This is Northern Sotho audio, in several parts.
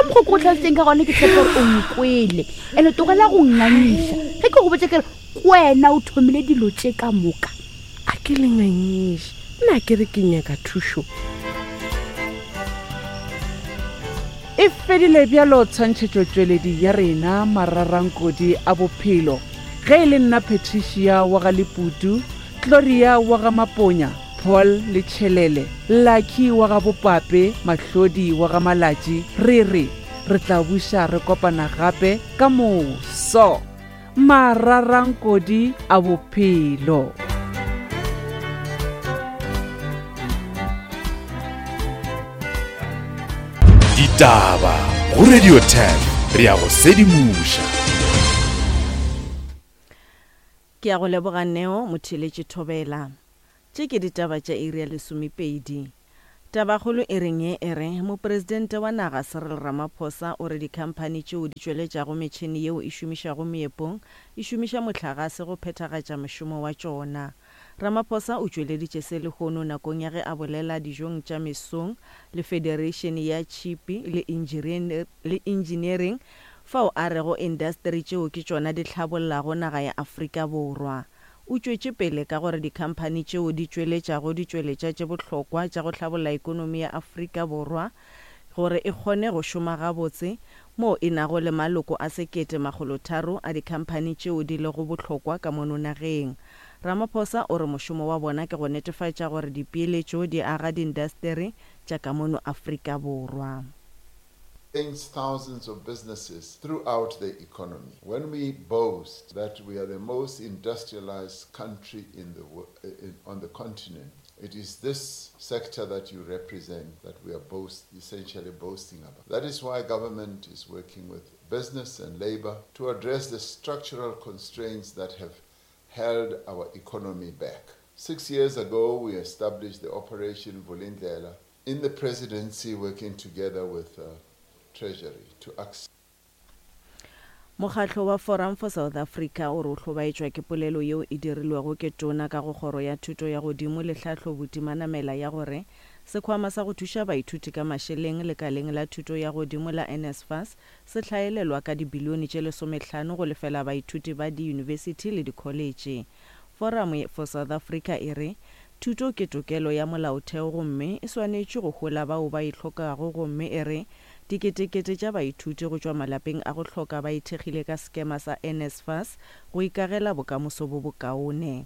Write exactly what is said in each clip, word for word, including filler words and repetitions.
mokgwa ko go tlhalositseng ka gone ke tshepe gore o nkwele ande togela go nngangiša ge ke go botse kere wena o thomile dilo tše ka moka. A ke le ngangiše, nna ke re ke nyaka thušo. E fedile bjalo tshwantšhetšotšweledi ya rena mararankodi a bophelo. Ge e le nna Patricia wa ga Leputu, Gloria wa ga Maponya, Paul le Tšhelele, Lucky wa ga Bopape, Mahlodi wa ga Malatši, re re re tla buša re kopana gape ka moso. Mararankodi a bophelo. Ditaba go Radio ten re ya go sedimoša. Ke ya go leboga Neo Motheeletši Thobela. Tše ke ditaba tša iri ya lesomepedi. Tabakgolo e reng ye e re mopresidente wa naga Cyril Ramaphosa o re dikhamphani tšeo di tšweletšago metšhene yeo e šomišwago meepong e šomiša mohlagase go phethagatša mošomo wa tšona. Ramaphosa o tšweleditše se lehono nakong ya ge a bolela dijong tša mesong le Federation ya Tšhipi le le Engineering fao a rego indasteri tšeo ke tšona di hlabollago naga ya Afrika Borwa. O tšwetše pele ka gore dikhamphani tšeo di tšweletšago ditšweletša tše bohlokwa tša go hlabolla ekonomi ya Afrika Borwa gore e kgone go šoma gabotse moo e nago le maloko a sekete makgolotharo a dikhamphani tšeo di lego bohlokwa ka mono nageng. Ramaphosa o re mošomo wa bona ke go netefatša gore dipeeletšo di aga diindasteri tša ka mono Afrika Borwa. Thousands of businesses throughout the economy. When we boast that we are the most industrialized country in the in, on the continent, it is this sector that you represent that we are boast, essentially boasting about. That is why government is working with business and labor to address the structural constraints that have held our economy back. Six years ago, we established the Operation Vulindlela in the presidency, working together with uh, Treasury to access. Mokgatlo wa Forum for South Africa o re o hlobaetšwa ke polelo yeo e dirilwego ke tona ka go kgoro ya thuto ya godimo le tlhahlo Botimanamela ya gore sekhwama sa go thuša baithuti ka mašeleng lekaleng la thuto ya godimo la N S F A S se hlaelelwa ka dibilione tše lesomehlano go lefela baithuti ba diyunibesithi le dikholetše. Forum for South Africa e re thuto ke tokelo ya molaotheo gomme e swanetše go hola bao ba e hlokago gomme e re diketekete tša baithuti go tšwa malapeng a go hloka ba ithekgile ka sekema sa N S F A S go ikagela bokamoso bo bokaone.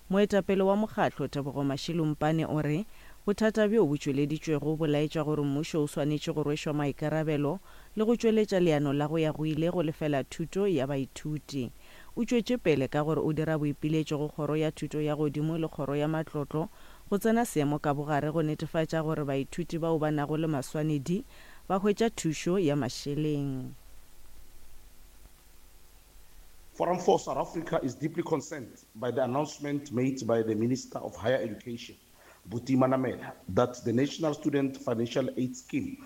Moetapele wa mokgatlo Tebogo Mashilumpane o re bothata bjo bo tšweleditšwego bo laetša gore mmušo o swanetše go rwešwa maikarabelo le go tšweletša leano la go ya go ile go lefela thuto ya baithuti. O tšwetše pele ka gore o dira boipiletšo go kgoro ya thuto ya godimo le kgoro ya matlotlo go tsena seemo ka bogare go netefatša gore baithuti bao ba nago le maswanedi ba hwetša thušo ya mašeleng. Forum for South Africa is deeply concerned by the announcement made by the Minister of Higher Education, Buti Manamela, that the National Student Financial Aid Scheme,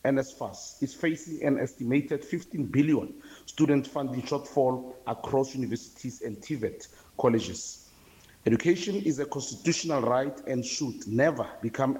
N S F A S, is facing an estimated fifteen billion student funding shortfall across universities and T V E T colleges. Education is a constitutional right and should never become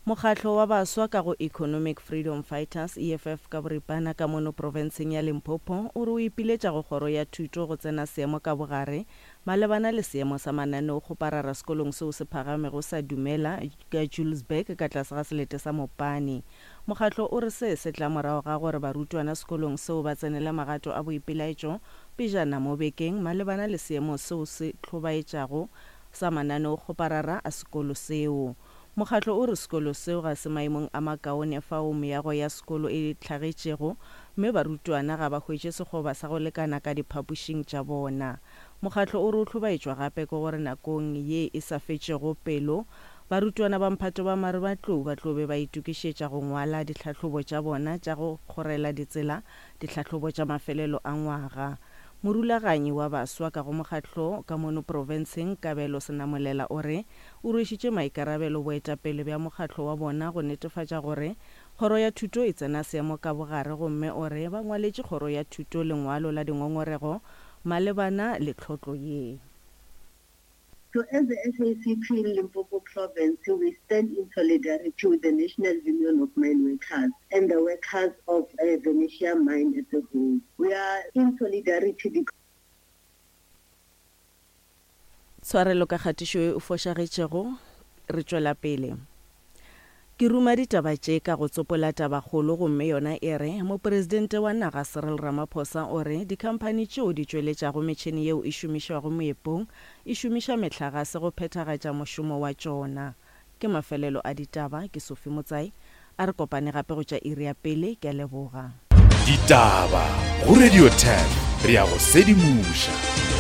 Mokgatlo wa baswa ka go Economic Freedom Fighters E F F ka boripana ka mono profenseng ya Limpopo o re o ipiletša go kgoro ya thuto go tsena seemo ka bogare malebana le seemo sa mananeo kgoparara sekolong seo se phagamego sa Dumela ka Julesburg ka tlase ga selete sa Mopani. Mokgatlo o re se se tla morago ga gore barutwana sekolong seo ba tsenele magato a boipelaetšo pejana mo bekeng malebana le seemo seo se hlobaetšago sa mananeo kgoparara a sekolo seo. Mokgatlo o re sekolo seo ga se maemong a makaone fao meago ya sekolo e hlagetšego mme barutwana ga ba hwetše sekgoba sa go lekana ka diphapošing tša bona. Mokgatlo o re o hlobaetšwa gape ke gore nakong ye e sa fetšego pelo barutwana ba mphato ba marematlou ba tlo be ba itokišetša go ngwala ditlhahlobo tša bona tša go kgorela ditsela ditlhahlobo tša mafelelo a ngwaga. Morulaganyi wa baswa ka go mokgatlo ka mono profenseng Kabelo Senamolela o re o rwešitše maikarabelo boetapele bja mokgatlo wa bona go netefatša gore kgoro ya thuto e tsena seemo ka bogare gomme o re ba ngwaletše kgoro ya thuto lengwalo la dingongorego malebana le tlhotlo ye. So as the S A C P in Limpopo province, we stand in solidarity with the National Union of Mine Workers and the workers of uh, Venetia Mine as a whole. We are in solidarity because Tshwarelo ka kgatišo ye e fošagetšego. Re tšwela pele. Ke ruma ditaba tše ka go tsopola tabakgolo gomme yona e re, Mopresidente wa naga Cyril Ramaphosa o re dikhamphani tšeo di tšweletšago metšhene yeo e šomišwago meepong e šomiša mehlagase go phethagatša mošomo wa tšona. Ke mafelelo a ditaba, ke Sophie Motsai. A re kopane gape go tša iri ya pele, ke a leboga. Ditaba go Radio ten, re a go sedimoša.